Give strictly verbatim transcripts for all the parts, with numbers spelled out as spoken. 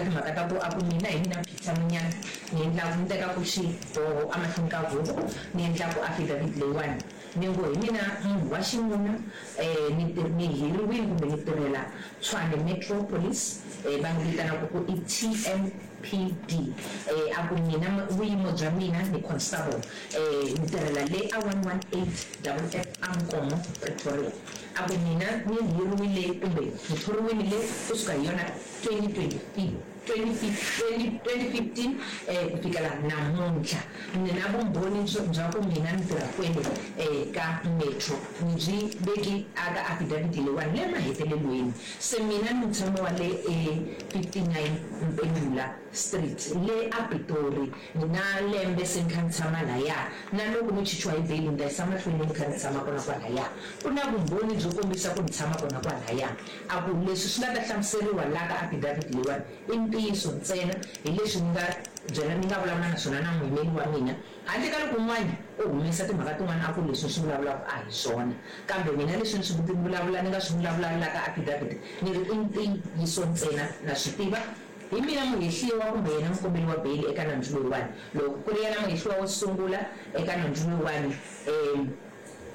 Timhaka ta ku a ku mina hi mina Peter Munyana ni endlaku ni tekaku xiboho emahlweni ka huvo, ni endlaku affidavit leyiwani, ni ngo hi mina munhu wa xinuna, um ni ni hiriwile kumbe ni tirhela Tshwane Metro Police, um va ni vitanaka ku i T M P D. um a ku mina vuyimo bya mina ni constable, um ni tirhela le a one one eight double F a Nkomo, Pretoria. A ku mina ni hiriwile kumbe ni thoriwile le kusuka hi yona twenty twenty twenty fifteen eh ku fikela namuntlha. Ni na vumbhoni bya ku mina ni tirha kwele eh ka metro, ni byi veki aka affidavit leyiwani le mahetelelweni. Se mina ni mutshami wa le e fifty-nine Mpendula Street le a Pitori. Ni na lembe se ni kha ni tshama laya, na loko no chichiwa hi bail ni ta yisa mahlweni ni kha ni tshama kona kwalaya. Ku na vumbhoni byo kombisa ku ni tshama kona kwalaya. A ku leswi swi nga ta hlamuseriwa la ka affidavit leyiwani i ntiyiso ntsena, hi leswi ni nga byela, ni nga vulavula na swona na muyimeri wa mina, handle ka loko un'wana u humesa timhaka tin'wana a ku leswi ni swi vulavulaka a hi swona. Kambe mina leswi ni swi vulavula, ni nga swi vulavula la ka affidavit, ni ri i ntiyiso ntsena. Na swi tiva hi mina muhehliwa kumbe yena mukombeli wa beyili eka nandzu loyiwani. Loko ku ri yena muhehliwa wo sungula eka nandzu loyiwani, um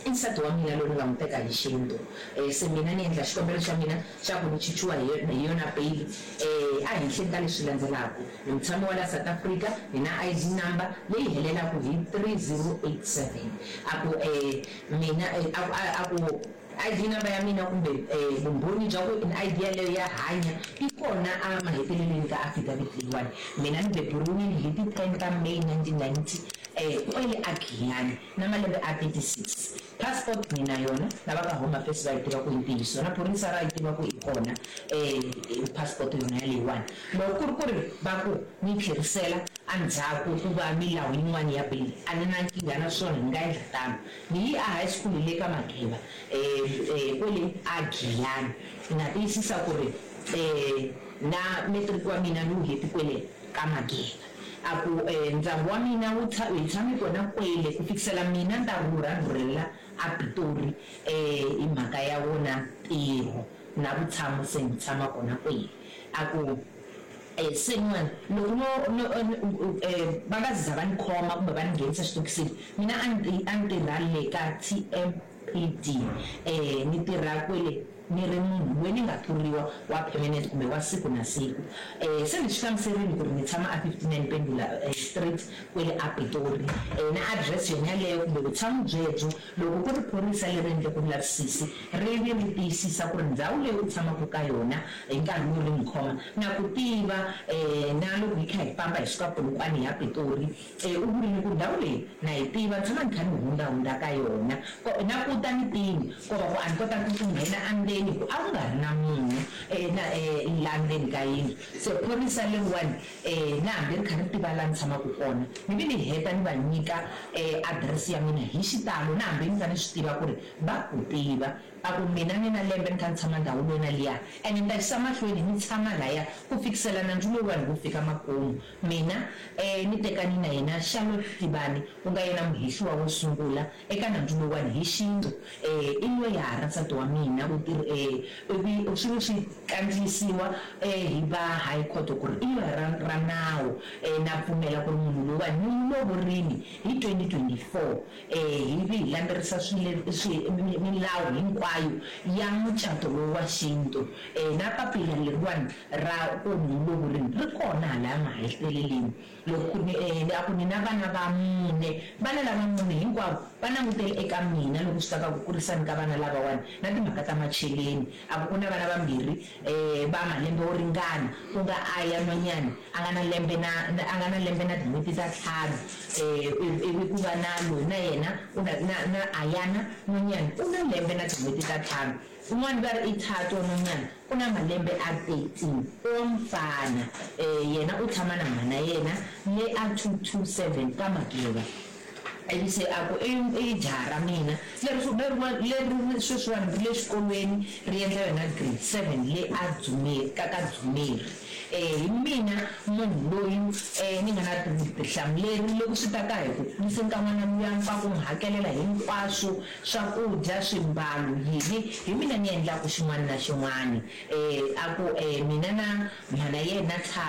i nsati wa mina loyi ni nga n'wi teka hi xintu. um se mina ni endla xikombelo xa mina xa ku ni chichiwa hi yona beyili um a henhleni ka leswi landzelaka: ni mutshami wa la South Africa, ni na I D number leyi helelaka hi three zero eight seven. A ku um mina a ku I D number ya mina kumbe um vumbhoni bya ku I D yaleyo ya hanya yi kona a mahetelelweni ka affidavit leyiwani. Mina ni beburiwile hi ti ten ta May nineteen ninety um kwele a Giyani, na malembe a thirty-six. Passport ni na yona, na va ka Home Affairs va yi tiva ku i ntiyiso, na phorisa ra yi tiva ku i kona um passport yona yaleyiwani. Loko ku ri ku ri va ku ni tlherisela endzhaku ku va milawu yin'wana ya bail, a ni na nkingha na swona, ni nga endla tano. Ni yi a high school le ka Mageba, um kwele a Giyani. Ni nga tiyisisa ku ri um na matric wa mina ni wu heti kwele ka Mageba. A ku um ndyangu wa mina wu hi tshame kona kwele ku fikisela mina ni ta rhurha, ni rhurhela a Pitori um hi mhaka ya wona ntirho na vutshamo, se ni tshama kona kwele. A ku um se n'wana loko no no um va nga za va ni khoma kumbe va ni nghenisa xitokisini, mina a ni a ni tirha le ka T M P D, um ni tirha kwele ni ri munhu loyi ni nga thoriwa wa permanent kumbe wa siku na siku. um se ni swi hlamuserile ku ri ni tshama a fifty-nine Pendula Street kwele a Pitori, um na address yona yaleyo kumbe vutshamo byebyo. Loko ku ri phorisa leri endleke vulavisisi ri vi ri tiyisisa ku ri ndhawu leyi u tshamaka ka yona hi nkarhi lowu ri ni khoma, na ku tiva, um na loko hi kha hi famba hi suka Polokwane ya Pitori, um u vurile ku ndhawu leyi na yi tiva, ni tshama ni kha ni hundzahundza ka yona na ku ta ni tini ko va ku a ni kotanga ku nghena endzeni ku a ku nga ri na munhu um na um laha ndzeni ka yindlu. Se phorisa leriwani, um na hambi ri kha ri tiva laha ni tshamaka kona, ni vi ni heta ni va nyika um adirese ya mina hi xitalo, na hambi ni kha ni swi tiva ku ri va ku tiva. A ku mina ni na lembe ni kha ni tshama ndhawu leyi na liya, ene ni ta yisa mahlweni ni tshama laya ku fikisela nandzu lowuwani wu fika makumu. Mina um ni tekani na yena Charlotte Tibani, ku nga yena muhehliwa wo sungula eka nandzu lowuwani hi xintu, um i loyara nsati wa mina, u um ivi swi vi swi kandziyisiwa um hi va high court ku ri i loyara ra nawu. um na pfumela ku ri munhu loyiwani ni n'wi lovorini hi twenty twenty-four, um hi vi hi landzelerisa swi milawu hinkwayo ya mucato lowu wa xintu, um na papila leriwani ra ku ni n'wi lovorini ri kona halaya maheteleleni. Loko ku ni a ku ni na vana va mune, vana lava mune hinkwavo va langutele eka mina loko swi ta ka ku kurisani ka vana lavawani na timhaka ta macheleni. A ku ku na vana vambirhi um va malembe wo ringana, ku nga Aya nhwanyana a nga na lembe na a nga na lembe na tin'hweti ta ntlhanu, um ivi ku va na loyi na yena u na na na Ayana nhwanyana u na lembe na tin'hweti ta ntlhanu, un'wana va ri i Thato nhwanyana u na malembe a thirteen wa mufana, um yena u tshama na mhana yena le a two two seven ka Mageba. Ivi se a ku i i jaha ra mina leri leri leri sweswiwani ri le xikolweni, ri endla yona grade seven le a Dzumeri ka ka Dzumeri. um hi mina munhu loyi um ni nga na vutihlamuleri loko swi ta ka hi ku kuriseni ka n'wana luya, ka ku n'wi hakelela hinkwaswo, swakudya, swimbalo, yini, hi mina ni endlaku xin'wana na xin'wana. um a ku um mina na mhana yena Thato.